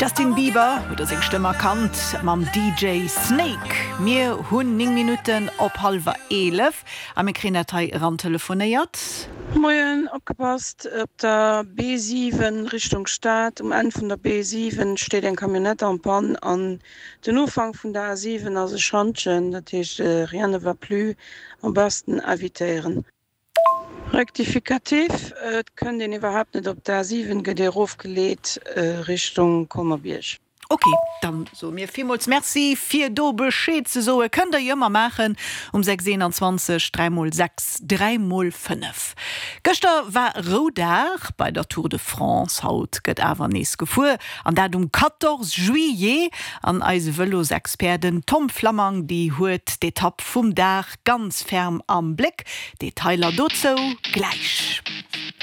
Justin Bieber, hutt der seng Stëmm erkannt, mam DJ Snake. Mir hunn 9 Minutten op hallwer 11 a mir kréien dat hei erantelefonéiert. Moien, opgepasst, op der B7 Richtung Stad, um Enn vun der B7 steet eng Camionnette en panne an den Ufank vun der A7 ass e Schantjen, dat heescht rien ne va plus, am besten evitéieren. Rectificatif, Et kënnt een iwwerhaapt net op d'A7, gëtt ee erofgeleet Richtung Colmer-Bierg. Ok, dann soe mir villmools Merci fir do Bescheed ze soe. Kënnt der jo ëmmer maachen um 6 21 3 mol 6 3 mol 5. Gëschter war Roudag bei der Tour de France, haut gëtt awer nees gefuer an dat um 14 Juillet. An eise Vëlosexpert den Tom Flammang, déi huet d'Etapp vum Dag ganz ferm am Bléck. Detailer dozou gläich.